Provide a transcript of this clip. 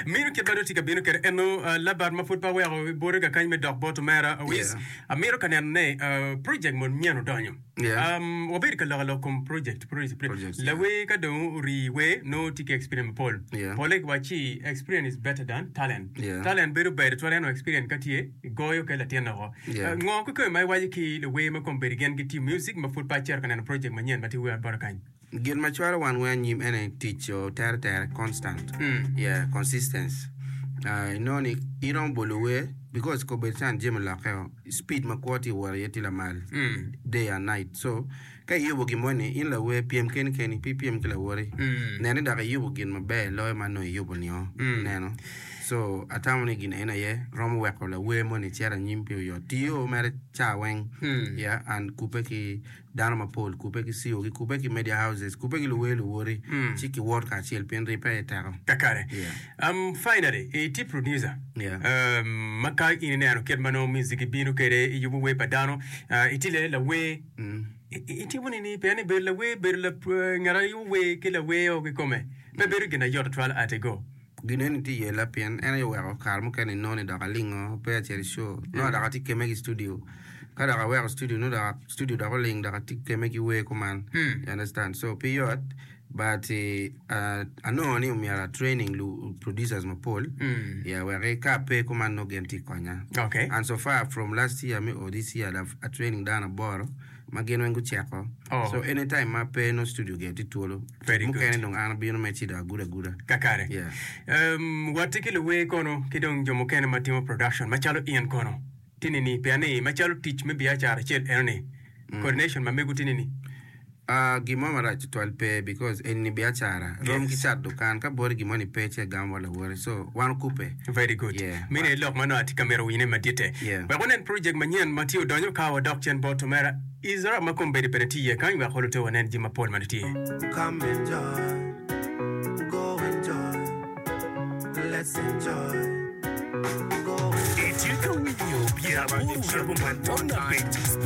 Meno kit ma dong tye ka bino kwede eno Labat ma pud pe aweko bote kakany me dok bot omera Awis. Yeah. Amito ka neno ne project mo nyen odonyo. Yeah. Um, wabedo ka loko lok kom project, project, project. Projects, yeah. Lawer ka dong ori wer nongo tye ki experience mapol. Yeah. Pole kiwacci experience is better than talent. Yeah. Talent bedo ber tutwal ento experience ka tye goyo ki latin woko. Yeah. Uh, ngo kikome ma iwaco ki luwer ma kombeddi gin gitiyo music ma pud pe acito ka neno project manyen ma tye wer bota kany? Gin ma cwalo wan weng anyim ene tic tere tere constant yeah consistence inongo ni iromo bolo wer because kobedo can jami oloke o speed ma kwo tye wot iye tye lamal day and night so ka iyubo gin moni in lawer pyem keni keni pe ipyem ki lawoti nen ni dok iyubo gin maber loyo ma nongo iyubo nio ineno so atamo ni gin eni aye romo weko lawer moni cito anyim pi oyot tiyo mere ca weng yeah and kubbe ki dano mapol kubbe ki CO gi, kubbe ki media houses, kubbe ki luwer luwoti ci ki wot kacel pien ribbe aye teko. Kakare. Yeah. Um, finally, itye producer. Yeah. Um, ma ka in ineno kit ma nongo music bino kwede iyubo wer pa dano, uh, itye le lawer. Mm. I- i- Itimo nini pien ni bedo lawer, bedo la, uh, ngat a yubo wer ki lawer o kikome pe bedo gin ayot tutwal at a go. Gin eni tye yela pien en aye oweko kare mukene inongo ni dok alingo pe acito i show nongo dok atye keme ki studio ka dok aweko studio nongo dok studio dok oling dok atye keme ki wer kuman you understand so pe yot but anongo ni omyero a training lu producers mapol yeah wek ka ape kuman nongo gin tye konya Okay. and so far from last year me o this year a training dano aboro ma gin weng guceko Oh. so any time ma pe nongo studio gire tye twolo Very good. mukene dong an abino me ci dong agudo aguda Kakare. Yeah. Um, watye ki luwer kono ki dong jo mukene ma timo production macalo in kono tye nini pien ni macalo tic me biacara acel eno ni coordination ma mego tye nini Ah, gin mo marac tutwal pe because eni ni biacara rom ki Yes. cat dukan ka boti gin mo ni pe ci agamo bot lawote so wan okubbe Very good. Yeah. Meno aye lok ma nongo atye ka mito winyone maditte. Yeah. Wek wanen project manyen ma tye odonyo ka wadok cen bot omera Ezra ma kombeddi bene tye iye kany wek olutte wanen jami mapol ma tye. Come enjoy, go enjoy, let's enjoy, go enjoy. Itye ka winyo 85.